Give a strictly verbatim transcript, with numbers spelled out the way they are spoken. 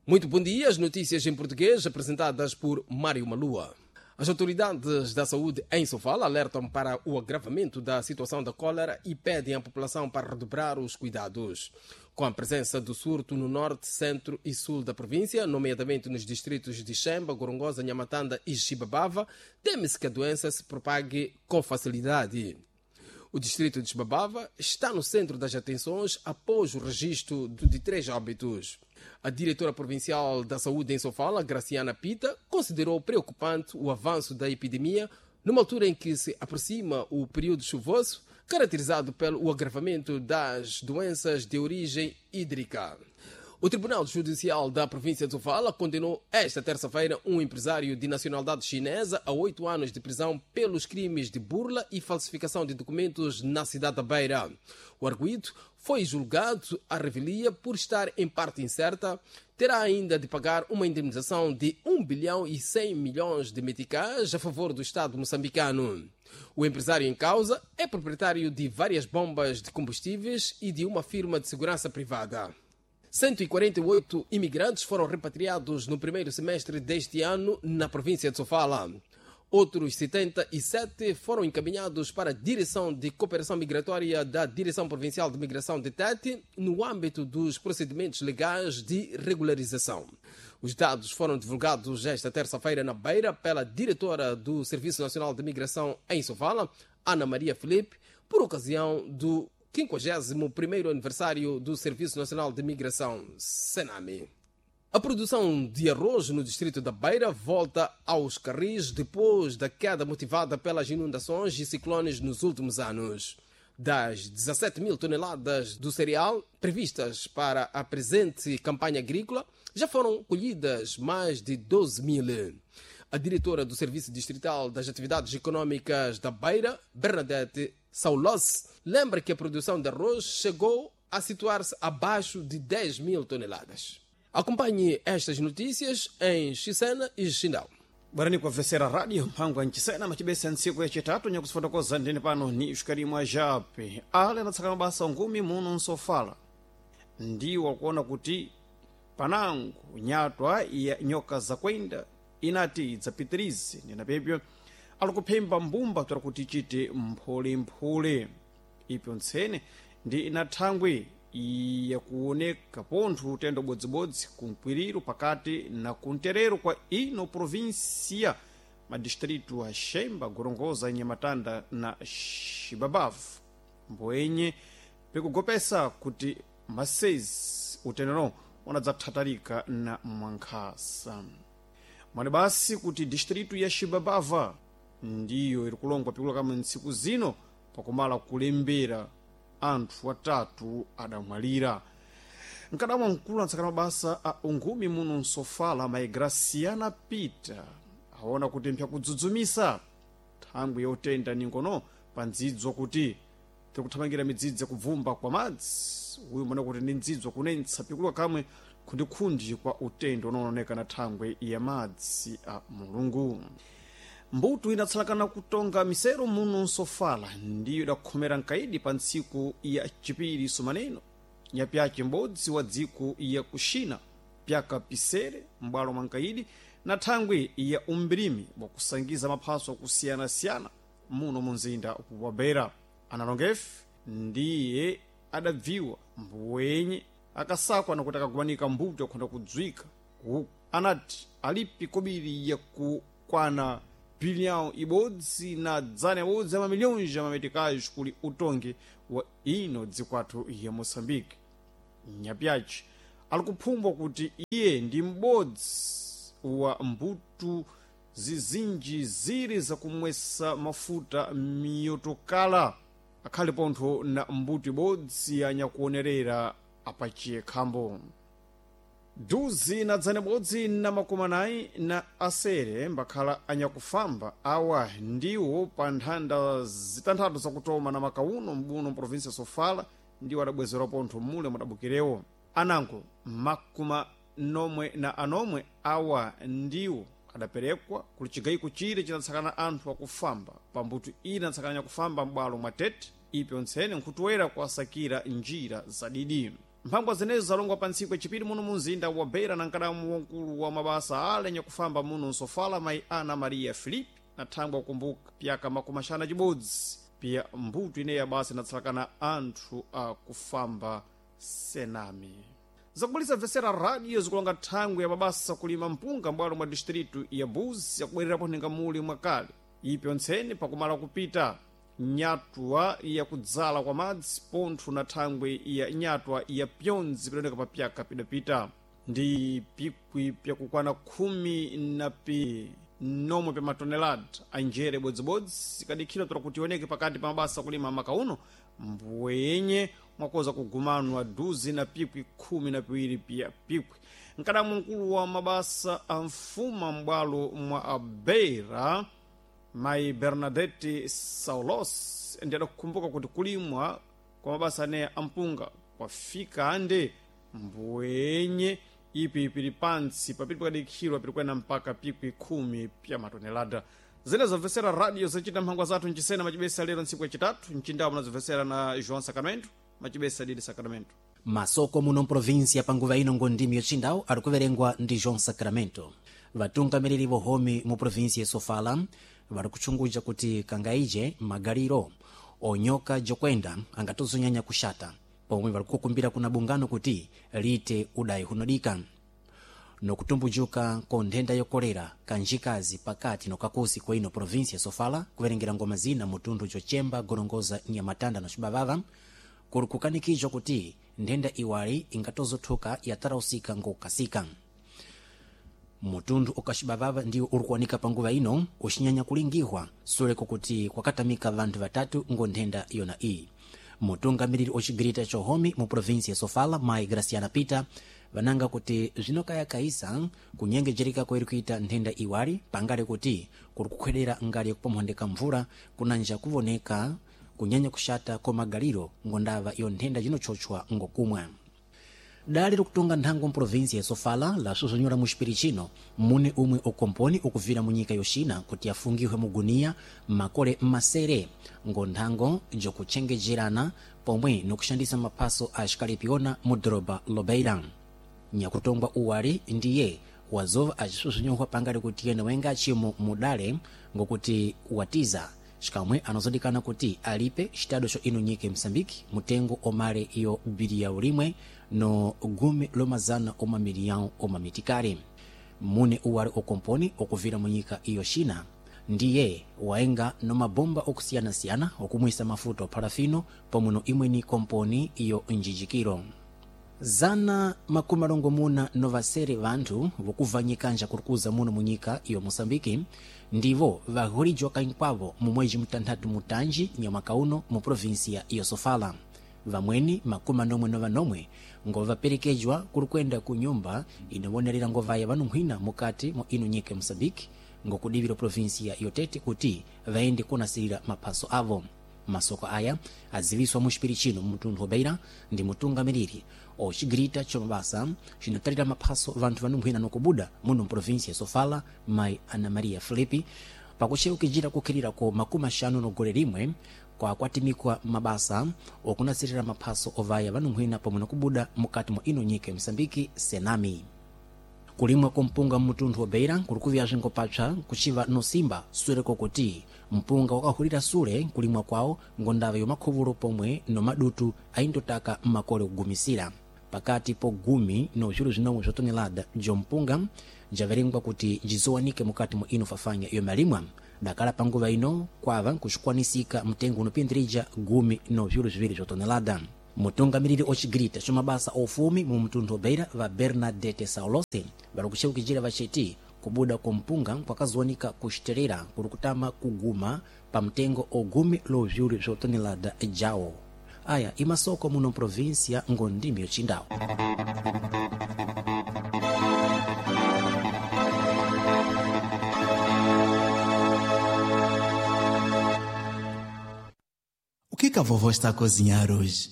Muito bom dia. As notícias em português apresentadas por Mário Malua. As autoridades da saúde em Sofala alertam para o agravamento da situação da cólera e pedem à população para redobrar os cuidados. Com a presença do surto no norte, centro e sul da província, nomeadamente nos distritos de Chemba, Gorongosa, Nhamatanda e Chibabava, teme-se que a doença se propague com facilidade. O distrito de Chibabava está no centro das atenções após o registro de três óbitos. A diretora provincial da Saúde em Sofala, Graciana Pita, considerou preocupante o avanço da epidemia numa altura em que se aproxima o período chuvoso, caracterizado pelo agravamento das doenças de origem hídrica. O Tribunal Judicial da província de Sofala condenou esta terça-feira um empresário de nacionalidade chinesa a oito anos de prisão pelos crimes de burla e falsificação de documentos na cidade da Beira. O arguido foi julgado à revelia por estar em parte incerta, terá ainda de pagar uma indemnização de um bilhão e cem milhões de meticais a favor do Estado moçambicano. O empresário em causa é proprietário de várias bombas de combustíveis e de uma firma de segurança privada. cento e quarenta e oito imigrantes foram repatriados no primeiro semestre deste ano na província de Sofala. Outros setenta e sete foram encaminhados para a Direção de Cooperação Migratória da Direção Provincial de Migração de Tete, no âmbito dos procedimentos legais de regularização. Os dados foram divulgados esta terça-feira na Beira pela diretora do Serviço Nacional de Migração em Sofala, Ana Maria Felipe, por ocasião do quinquagésimo primeiro aniversário do Serviço Nacional de Migração, Senami. A produção de arroz no distrito da Beira volta aos carris depois da queda motivada pelas inundações e ciclones nos últimos anos. Das dezassete mil toneladas do cereal previstas para a presente campanha agrícola, já foram colhidas mais de doze mil. A diretora do Serviço Distrital das Atividades Econômicas da Beira, Bernadette Saulos, lembra que a produção de arroz chegou a situar-se abaixo de dez mil toneladas. Acompanhe estas notícias em Chisena e Xindau. Barani kwa vesera radio mpango nchisena machibesa ntsiku yachitatu nyakusifotokoza ndine pano ni ushikarimwa jape ale anatsaka mabasa ngumi muno nsofala ndiwo akuona kuti panango nyatwa ya nyoka zakwenda inati idzapitirize ndinapepyo alikuphemba mbumba tora kuti ichite mphulemphule ipyo ntsene ndi inathangwi yakuoneka pontho utendo bodzibodzi kumkwiriro pakati na kunterero kwa ino provinsia madistritu a Xemba, Gorongosa, Nhamatanda na Xibabavu mboenye pikugopesa kuti masezi utendero unadzathatalika na mwankhasa mwani basi kuti distritu ya Xibabava ndiyo iri kulongwa pikula kamwe ntsiku zino pakumala kulembera anthu atatu adamwalira. Mkadamwa mkulu antsakana mabasa a ungumi muno nsofala mayi Graciana Peter aona kuti mphyakudzudzumisa thangwi yotenda ningono pa ndzidzo kuti tikuthamangira midzidzi yakubvumba kwa madzi uyu mona kuti ndi ndzidzo kunentsa pikuluka kamwe khundikhundi kwa utendo unaoneka na thangwi ya madzi a Mulungu. Mbuto inatsalakana kutonga misero muno nsofala ndiyo idakhomera nkaidi pa ntsiku ya chipiri sumaneno nyapyace m'bodzi wa dziko ya kuxina pyaka pisere m'bwalo mwa nkaidi na thangwi ya umbirimi wakusangiza maphaso akusiyana-siyana muno mu mzinda wa Beira. Analongefe ndiye adabviwa mbuwenye akasakwa nakuti akagumanika mbuto yakhonda kudzwika uku anati alipi kobiri yakukwana bilhão ibodzi na dzana ibodzi ya mamilhões ya mameticais kuli utongi wa ino dzikwathu ya Moçambique. Nyapyaci ali kuphumbwa kuti iye ndi m'bodzi wa mbuto zizinji ziri zakumwesa mafuta miyotokala akhale pontho na mbuto ibodzi anyakuonerera apachiye khambo. Duzi na dzana ibodzi na makumi anayi na asere mbakhala anyakufamba awa ndiwo pa nthanda zitanthatu zakutoma na makauno mbuno mprovinsia Sofala ndiwo adabwezerwa pontho mule mudabukirewo. Anango makumi nomwe na anomwe awa ndiwo adaperekwa kuli chigayiko chire chinatsakana anthu akufamba pambuto ina atsakana nyakufamba m'bwalo mwa Tete ipyo ntsene nkhutoera kuasakira njira zadidi. Mphangwa zenezo zalongwa pa ntsiku yachipiri muno munzinda wa Beira na nkadamu wankulu wa mabasa ale nyakufamba muno nsofala mayi Ana Maria Filipe na thangwa kukumbuka pyaka makumi axanu na cibodzi pya mbuto ineyi ya basa inatsalakana anthu akufamba senami. Zakubulisa mvesera radio zikulonga thangwi ya mabasa kulima mpunga mbwalo mwa distritu ya Buzi yakubwererapo nhinga muli mwakale ipyo ntseni pakumala kupita nyatwa yakudzala kwa madzi pontho na thangwi ya nyatwa ya pyondzi pidoneka pa pyaka pidapita ndi pikwi pyakukwana khumi na pi nomwe pya matonelada anjere bodzibodzi ikadikhira tora kuti ioneke pakati pa mabasa kulima maka uno mbwenye mwakoza kugumanwa duzi na pikwi khumi na piwiri pya pikwi. Nkadamu mkulu wa mabasa a mfuma m'bwalo mwa Abeira mayi Bernadette Saulos ndi adakukumbuka kuti kulimwa kwa mabasa aneya ampunga kwafika ande mbwenye ipi pili pantsi papili pakadikhirwa pilikwena mpaka pikwi khumi pya matonelada. Zene zomvesera radio zacita mphangwa zathu mchisena macibesa lero ntsiku yacitatu mcindawo munazomvesera na João Sacramento macibesa didi Sacramento. Masoko muno mprovinsia panguva ino ngondimi yocindawo ari kuverengwa ndi João Sacramento. Vatungamiriri vohomi mu provinsia ya Sofala vari kuchunguja kuti kangaije magaliro onyoka jokwenda angatozonyanya kuxata pomwe vari kukumbira kuna bungano kuti liite udayi hunodika nokutumbujuka ko nthenda yokolera kanjikazi pakati nokakusi kwa ino provinsia ya Sofala kuverengera ngoma zina mutundu jochemba gorongoza nyamatanda na cibavava kuli kukanikizwa kuti nthenda iwali ingatozothuka yatarausika ngokukasika. Mutundu ukacibavava ndiwo uri kuwanika panguva ino uxinyanya kulingihwa suleko kuti kwakatamika vanthu vatatu ngo nthenda yona iyi. Mutungamiriri ocigirita cohomi mu provinsia ya Sofala mayi Graciana Peter vananga kuti zvinokayakayisa kunyengejereka kwairi kuita nthenda iwali pangale kuti kuri kukhwedera ngali yakupomphondeka mvula kunanja kuvoneka kunyanya kuxata kwa magaliro ngondava iyo nthenda yinochochwa ngokumwa. Dali likutunga nthango mprovinsia ya Sofala lasuzumira mu xipiri chino mune umwe ukomponi ukuvira mu nyika yoxina kuti afungiwe muguniya makole masere ngo nthango jokutchengejerana pomwe nokuxandisa maphaso a xikalepiona mu doroba Lobeira. Nyakutongwa uwali ndiye wazova acisusunyohwa pangali kuti yene wenga achimo mudale ngokuti watiza xikamwe anazodikana kuti alipe xitado xo ino nyika ya Moçambique mutengo omale iyo biliyau limwe no gumi lomazana oma miliyau oma mitikali. Mune uwali okomponi okuvira mu nyika iyo China ndiye waenga no mabomba okusiyanasiyana okumwisa mafuta oparafino pomwe no imweni komponi iyo njijikiro. Zana makumi alongomuna novasere vanthu vokuva nyikanja kurikuza muno munyika iyo Moçambique ndivo vahulijwa kankwavo mu mwezi mutanthatu mutanji nyamwaka uno mu provinsia iyo Sofala. Vamweni makumi anomwe novanomwe ngovaperekejwa kuri kwenda ku nyumba inovonerera ngovaya vanunkhwina mukati mwa ino nyika ya Moçambique ngokudivira provinsia iyo Tete kuti vaende kunasirira maphaso avo. Masoko aya aziviswa mu xipiri chino mutundu wa Beira ndi mutungamiriri ocigirita comabasa cinotalira maphaso vanthu vanunkhwina nokubuda muno mprovinsia ya Sofala mayi Ana Maria Filipi pakucheukijira kukhirira ko makumi axanu nogole limwe kwakwatimikwa mabasa okunasirira maphaso ovaya vanunkhwina pomwe nokubuda mukati mwa ino nyika ya Moçambique senami. Kulimwa kwa mpunga mmutundu wa Beira kuli kuvya ngopapsa kuciva nosimba suleko kuti mpunga wakahulira sule kulimwa kwawo ngondava yomakhuvulo pomwe nomadutu aindotaka mmakole kugumisira. Pakati po gumi no vilu zinomwe zwa tonelada jompunga javerengwa kuti jizowanike mukati mwa ino fafanya iyo malimwa dakala panguva ino kwava kuxikwanisika mtengo unopindirija gumi no vilu ziwiri zwa tonelada. Mutungamiriri ocigirita comabasa ofumi mu mtundu wa Beira va Bernadette Saulose vari kucheukijira vaceti kubuda kwa mpunga kwakazowanika kuxiterera kuri kutama kuguma pa mtengo ogumi lo viulu zwa tonelada jawo. Aya imasoko muno provinsia ngondimi yocindawo. O que que a vovó está a cozinhar hoje?